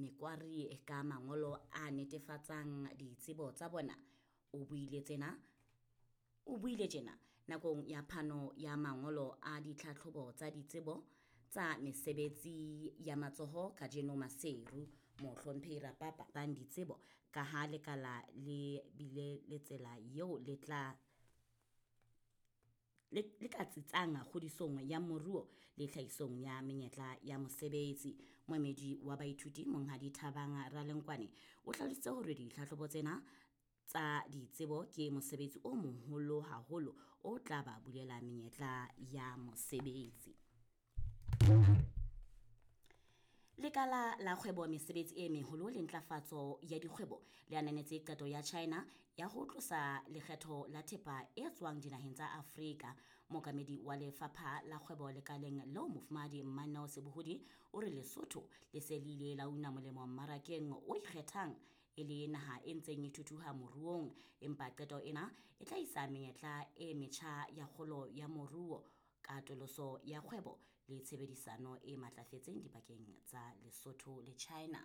mekwari ka mangolo a netefatsang ditsebo tsa bona. O buile tsena o buile tjena nakong ya phano ya mangolo a ditlhatlhobo tsa ditsebo tsa mesebetsi ya matsoho kajeno Maseru. Mohlomphehi Rapapa bang ditsebo ka ha lekala le bile le tsela eo le tla le ka tsitsang kgodisong ya moruo le tlhahisong ya menyetla ya mosebetsi. Moemedi wa baithuti Monghadi Thabang Ralenkwane o hlalositse hore ditlhatlhobo tsena tsa ditsebo ke mosebetsi o moholo haholo o tla ba bulela menyetla ya mosebetsi. Lekala la kgwebo mesebetsi e meholo le ntlafatso ya dikgwebo le ananetse qeto ya China ya ho tlosa lekgetho la thepa e tswang dinaheng tsa Afrika. Mookamedi wa lefapha la kgwebo lekaleng leo Mofumahadi Mmaneo Sebohodi o re Lesotho le se le ile la una molemo mmarakeng o ikgethang e le naha e ntseng e thuthuha moruong, empa qeto ena e tla isa menyetla e metjha ya kgolo ya moruo, katoloso ya kgwebo le tshebedisano e matlafetseng dipakeng tsa Lesotho le China.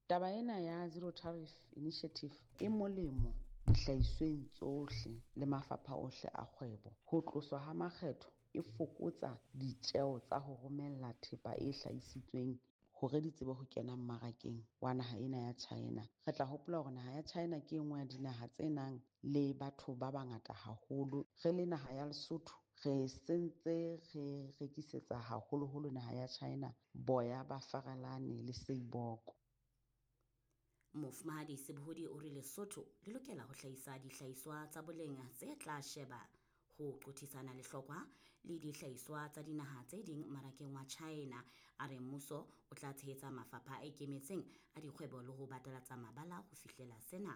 Taba ena ya Zero Tariff Initiative e molemo dihlahisweng tsohle le mafapha ohle a kgwebo. Ho tloswa ha makgetho e fokotsa ditjeo tsa ho romella thepa e hlahisitsweng hore di tsebe ho kena mmarakeng wa naha ena ya China. Re tla hopola hore naha ya China ke e nngwe ya dinaha tse nang le batho ba bangata haholo. Re le naha ya Lesotho re sentse re rekisetsa haholoholo naha ya China boya ba farelane le seiboko. Mofumahadi Sebohodi o re Lesotho le lokela ho hlahisa dihlahiswa tsa boleng tse tla sheba ho qothisana lehlokwa le dihlahiswa tsa dinaha tse ding mmarakeng wa China. A re mmuso o tla tshehetsa mafapha a ikemetseng a dikgwebo le ho batalatsa mabala ho fihlela sena.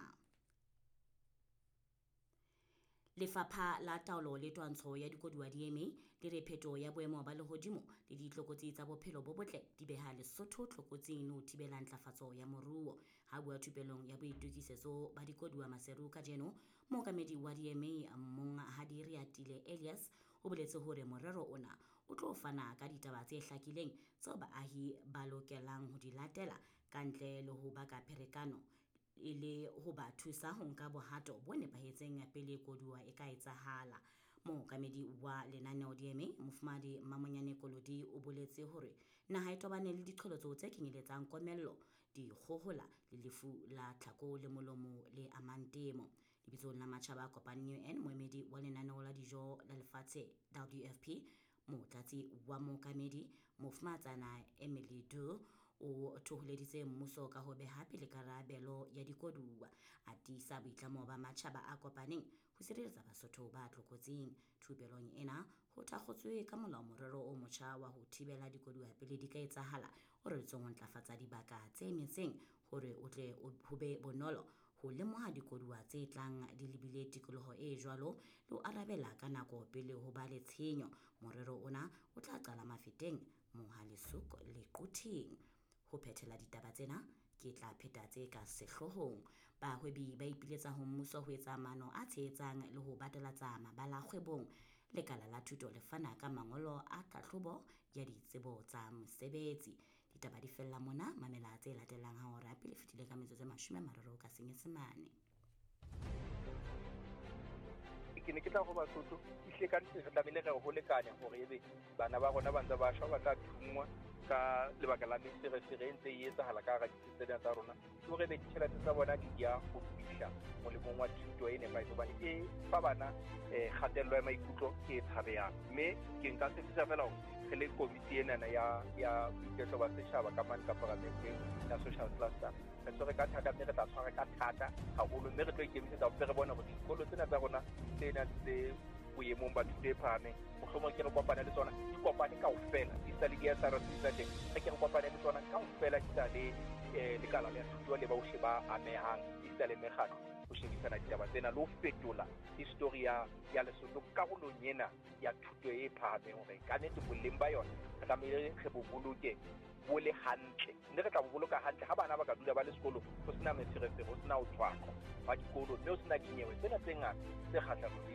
Lefapha la Taolo le Twantsho ya Dikoduwa DMA le re phetoho ya boemo ba lehodimo le ditlokotsi tsa bophelo bo botle di beha Lesotho tlokotsing le ho thibela ntlafatso ya moruo. Ha bua thupelong ya boitokisetso ba dikoduwa Maseru kajeno, mookamedi wa DMA Monghadi Reatile Elias o boletse hore morero ona o tlo fana ka ditaba tse hlakileng tseo baahi ba lokelang ho di latela ka ntle le ho baka pherekano e le ho ba thusa ho nka bohato bo nepahetseng pele koduwa e ka etsahala. Mookamedi wa lenaneo DMA Mofumahadi Mamonyane Kolodi o boletse hore naha e tobane le diqholotso tse kenyeletsang komello, dikgohola le lefu la tlhako le molomo le amang temo. Lebitsong la matjhaba a kopaneng UN, moemedi wa lenaneo la dijo la lefatshe WFP, motlatsi wa mookamedi Mofumahatsana Emily Du o thoholeditse mmuso ka ho beha pele karabelo ya dikoduwa, a tiisa boitlamo ba matjhaba a kopaneng ho sireletsa Basotho ba tlokotsing. Thupelong ena ho thakgotswe ka molao morero o motjha wa ho thibela dikoduwa pele di ka etsahala, o reretsweng ho ntlafatsa dibaka tse metseng hore o tle ho be bonolo ho lemoha dikoduwa tse tlang di lebile tikoloho e jwalo le ho arabela ka nako pele ho ba le tshenyo. Morero ona o tla qala Mafeteng, Mohale'shoek le Quthing. Ho phethela ditaba tsena ke tla pheta tse ka sehloohong. Bahwebi ba ipiletsa ho mmuso ho etsa maano a tshehetsang le ho batalatsa mabala kgwebong. Lekala la thuto le fana ka mangolo a tlhahlobo ya ditsebo tsa mosebetsi. Ditaba di fella mona, mamela tse latelang ha hora pele fetile ka metsotso e 30 ka Senyesemane. Ke ne ke tla ho Basotho ehlile ka nnete re tlamehile re ho lekane hore ebe bana ba rona ba ntse ba shwa, ba tla thunngwa ka lebaka la meferefere e ntse e etsahala ka hara ditsi tsena tsa rona, ke hore ebe ditjhelete tsa bona di ya ho fihla molemong wa thuto e nepahetseng, hobane e fa bana kgatello ya maikutlo e tshabehang. Mme ke nka tshepisa fela hore re le komiti enana ya boiketlo ba setjhaba ka mane ka paramenteng ya social cluster, re tshwere ka thata mme re tla tshwara ka thata haholo, mme re tlo ikemisetsa hore re bone hore dikolo tsena tsa rona tse nang tse boemong ba thuto e phahameng, mohlomong ke re kopane le tsona, di kopane kaofela, di sa le di-S R C tsa teng, re ke re kopane le tsona kaofela, di sa le lekala la thuto le bohle ba amehang, di sa le mekgatlo ho shebisana ditaba tsena le ho fetola histori ya Lesotho karolong ena ya thuto e phahameng, hore ka nnete boleng ba yona re tlamehile re bo boloke bo le hantle, mme re tla bo boloka hantle ha bana ba ka dula ba le sekolo ho sena meferefere, ho sena ho tshwaqwa ba dikolo, mme ho sena dinyewe tsena tse ngata tse kgahlanong le